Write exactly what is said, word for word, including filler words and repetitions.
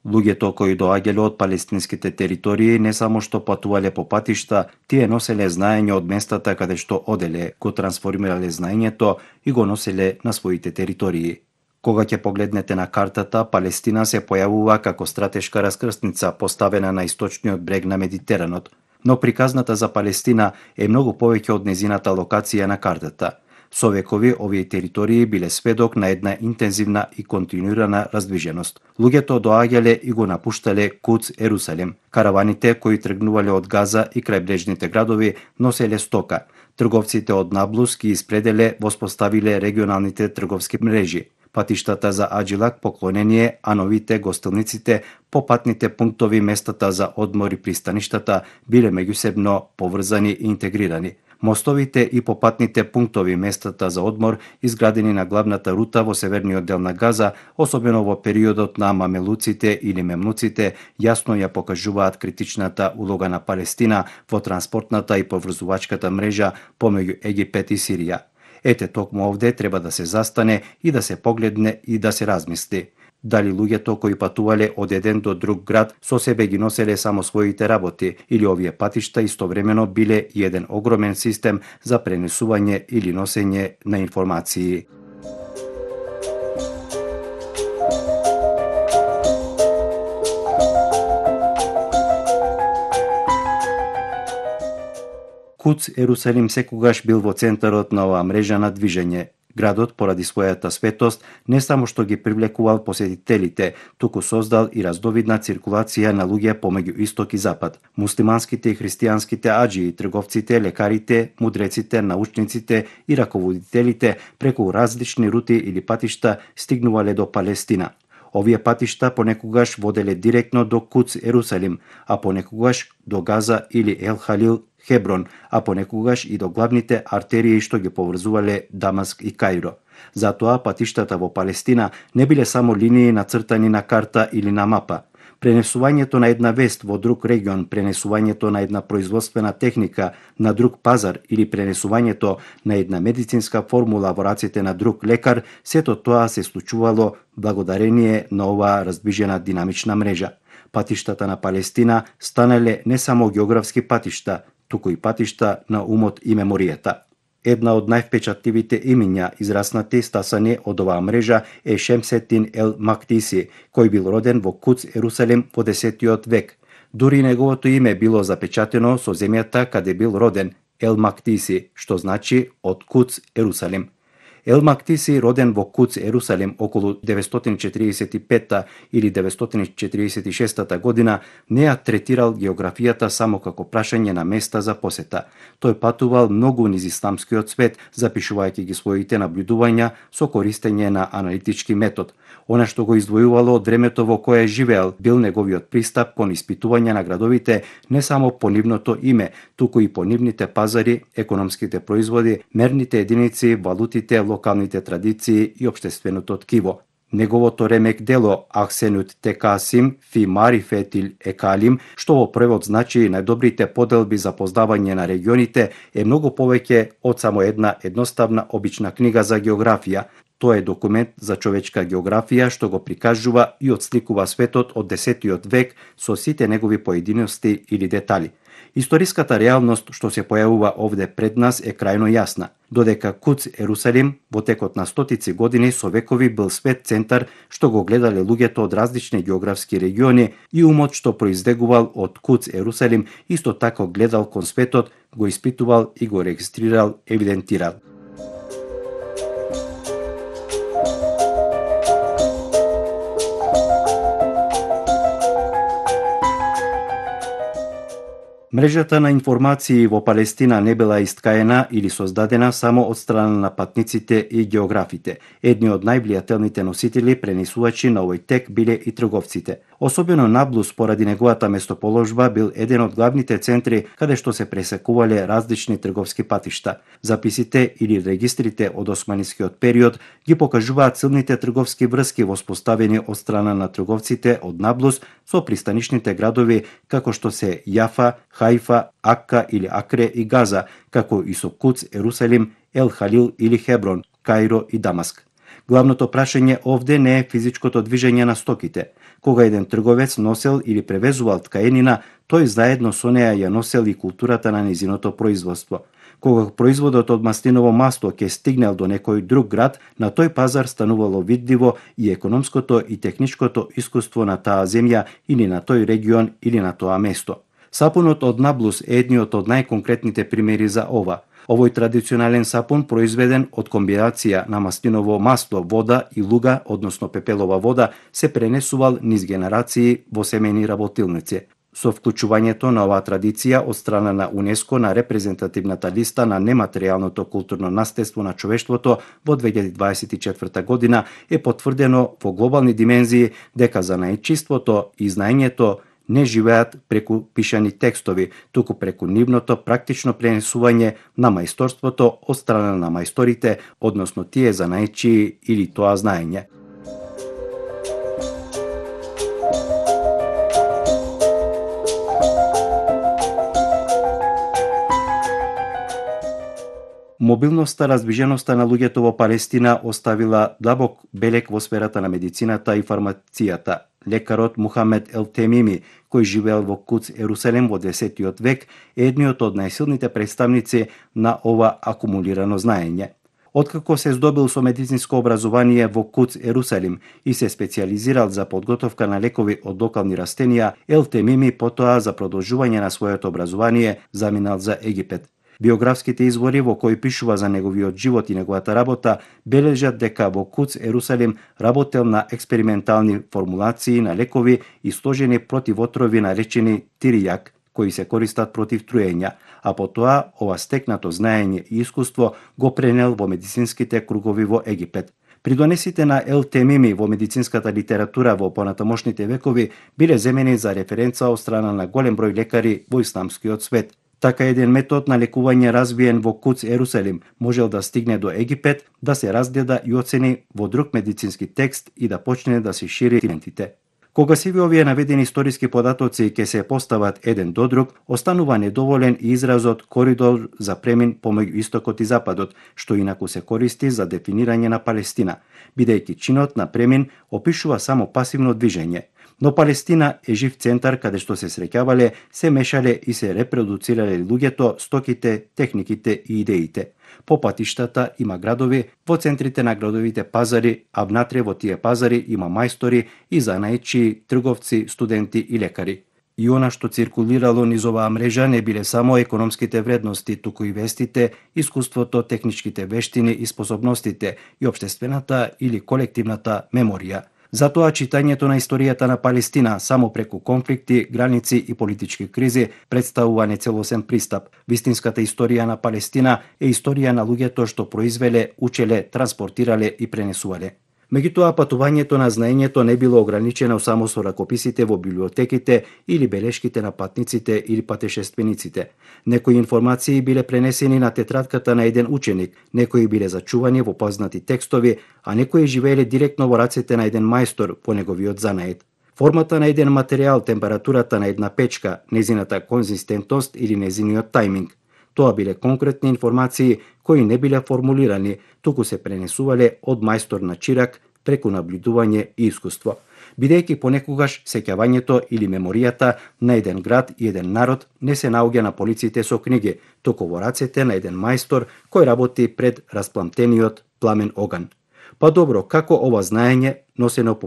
Луѓето кои доаѓале од палестинските територии не само што патувале по патишта, тие носеле знаење од местата каде што оделе, го трансформирале знаењето и го носеле на своите територии. Кога ќе погледнете на картата, Палестина се појавува како стратешка раскрсница поставена на источниот брег на Медитеранот, но приказната за Палестина е многу повеќе од незината локација на картата. Со векови овие територии биле сведок на една интензивна и континуирана раздвиженост. Луѓето доаѓале и го напуштале Куц Ерусалим. Караваните кои тргнувале од Газа и крајбрежните градови носеле стока. Трговците од Наблус ги испределе, воспоставиле регионалните трговски мрежи. Патиштата за Аджилак поклонение, а новите гостилниците, попатните пунктови, местата за одмор и пристаништата биле меѓусебно поврзани и интегрирани. Мостовите и попатните пунктови, местата за одмор, изградени на главната рута во северниот дел на Газа, особено во периодот на мамелуците или мемнуците, јасно ја покажуваат критичната улога на Палестина во транспортната и поврзувачката мрежа помеѓу Египет и Сирија. Ете, токму овде треба да се застане и да се погледне и да се размисли. Дали луѓето кои патувале од еден до друг град со себе ги носеле само своите работи, или овие патишта истовремено биле и еден огромен систем за пренесување или носење на информации. Куц Ерусалим секогаш бил во центарот на оваа мрежа на движење. Градот, поради својата светост, не само што ги привлекувал посетителите, туку создал и раздовидна циркулација на луѓе помеѓу исток и запад. Муслиманските и христијанските аџии, трговците, лекарите, мудреците, научниците и раководителите преку различни рути или патишта стигнувале до Палестина. Овие патишта понекогаш воделе директно до Куц Ерусалим, а понекогаш до Газа или Ел Халил, Хеброн, а понекогаш и до главните артерии што ги поврзувале Дамаск и Каиро. Затоа патиштата во Палестина не биле само линии нацртани на карта или на мапа. Пренесувањето на една вест во друг регион, пренесувањето на една производствена техника на друг пазар или пренесувањето на една медицинска формула во раците на друг лекар, сето тоа се случувало благодарение на оваа раздвижена динамична мрежа. Патиштата на Палестина станале не само географски патишта, туку и патишта на умот и меморијата. Една од највпечатливите имиња израснати стасани од оваа мрежа е Шемсетин Ел Мактиси, кој бил роден во Куц Ерусалим во десетиот век. Дури неговото име било запечатено со земјата каде бил роден, Ел Мактиси, што значи од Куц Ерусалим. Ел Мактиси, роден во Куц Ерусалим околу деветстотини четиридесет и петта или деветстотини четиридесет и шеста година, не ја третирал географијата само како прашање на места за посета. Тој патувал многу низ исламскиот свет, запишувајќи ги своите наблюдувања со користење на аналитички метод. Она што го издвојувало од времето во кое живеел бил неговиот пристап кон испитување на градовите не само по нивното име, туку и по нивните пазари, економските производи, мерните единици, валутите, локалните традиции и општественото ткиво. Неговото ремек дело Ахсенут Текасим фи Марифетил Екалим, што во превод значи најдобрите поделби за познавање на регионите, е многу повеќе од само една едноставна обична книга за географија. Тоа е документ за човечка географија што го прикажува и отсликува светот од десетиот век со сите негови поединости или детали. Историската реалност што се појавува овде пред нас е крајно јасна. Додека Куц Ерусалим во текот на стотици години со векови бил свет центар што го гледале луѓето од различни географски региони, и умот што произлегувал од Куц Ерусалим исто така гледал кон светот, го испитувал и го регистрирал, евидентирал. Мрежата на информации во Палестина не била искаена или создадена само од страна на патниците и географите. Едни од највлијателните носители, пренесувачи на овој тек биле и трговците. Особено Наблус, поради неговата местоположба, бил еден од главните центри каде што се пресекувале различни трговски патишта. Записите или регистрите од османискиот период ги покажуваат силните трговски врски воспоставени од страна на трговците од Наблус со пристанишните градови како што се Јафа, Хајфа, Акка или Акре и Газа, како и со Куц Ерусалим, Ел Халил или Хеброн, Каиро и Дамаск. Главното прашање овде не е физичкото движење на стоките. Кога еден трговец носел или превезувал ткаенина, тој заедно со неа ја носел и културата на незиното производство. Кога производот од маслиново масло ќе стигнел до некој друг град, на тој пазар станувало видливо и економското и техничкото искуство на таа земја или на тој регион или на тоа место. Сапунот од Наблус е едниот од најконкретните примери за ова. Овој традиционален сапун произведен од комбинација на маслиново масло, вода и луга, односно пепелова вода, се пренесувал низ генерации во семејни работилници. Со вклучувањето на оваа традиција од страна на УНЕСКО на репрезентативната листа на нематеријалното културно наследство на човештвото во две илјади дваесет и четврта година е потврдено во глобални димензии дека занаетчиството и знаењето не живеат преку пишани текстови, туку преку нивното практично пренесување на мајсторството од страна на мајсторите, односно тие занаетчии или тоа знаење. Мобилноста, раздвиженоста на луѓето во Палестина оставила длабок белег во сферата на медицината и фармацијата. Лекарот Мухамед Ел Темими, кој живеел во Куц, Ерусалим во десетиот век, е едниот од најсилните представници на ова акумулирано знаење. Откако се здобил со медицинско образование во Куц, Ерусалим и се специализирал за подготовка на лекови од локални растенија, Ел Темими потоа за продолжување на своето образование заминал за Египет. Биографските извори во кои пишува за неговиот живот и неговата работа бележат дека во Куц, Ерусалим, работел на експериментални формулации на лекови и сложени против отрови наречени тиријак, кои се користат против труења, а потоа ова стекнато знаење и искуство го пренел во медицинските кругови во Египет. Придонесите на Ел Темими во медицинската литература во понатамошните векови биле земени за референца од страна на голем број лекари во исламскиот свет. Така еден метод на лекување развиен во Куц, Ерусалим, можел да стигне до Египет, да се разгледа и оцени во друг медицински текст и да почне да се шири клиентите. Кога сиви овие наведени историски податоци ќе се постават еден до друг, останува недоволен и изразот коридор за премин помеѓу истокот и западот, што инаку се користи за дефинирање на Палестина, бидејќи чинот на премин опишува само пасивно движење. Но Палестина е жив центар каде што се среќавале, се мешале и се репродуцирале луѓето, стоките, техниките и идеите. По патиштата има градови, во центрите на градовите пазари, а внатре во тие пазари има мајстори и занаетчии, трговци, студенти и лекари. И она што циркулирало низ оваа мрежа не биле само економските вредности, туку и вестите, искуството, техничките вештини и способностите и општествената или колективната меморија. Затоа читањето на историјата на Палестина само преку конфликти, граници и политички кризи представува нецелосен пристап. Вистинската историја на Палестина е историја на луѓето што произвеле, учеле, транспортирале и пренесувале. Меѓутоа, патувањето на знаењето не било ограничено само со ракописите во библиотеките или белешките на патниците или патешествениците. Некои информации биле пренесени на тетрадката на еден ученик, некои биле зачувани во познати текстови, а некои живееле директно во рацете на еден мајстор во неговиот занает. Формата на еден материјал, температурата на една печка, незината конзистентност или незиниот тајминг. Тоа биле конкретни информации кои не биле формулирани, туку се пренесувале од мајстор на чирак преку наблюдување и искуство. Бидејќи понекогаш сеќавањето или меморијата на еден град и еден народ не се наоѓа на полиците со книги, туку во рацете на еден мајстор кој работи пред распламтениот пламен оган. Па добро, како ова знаење, носено по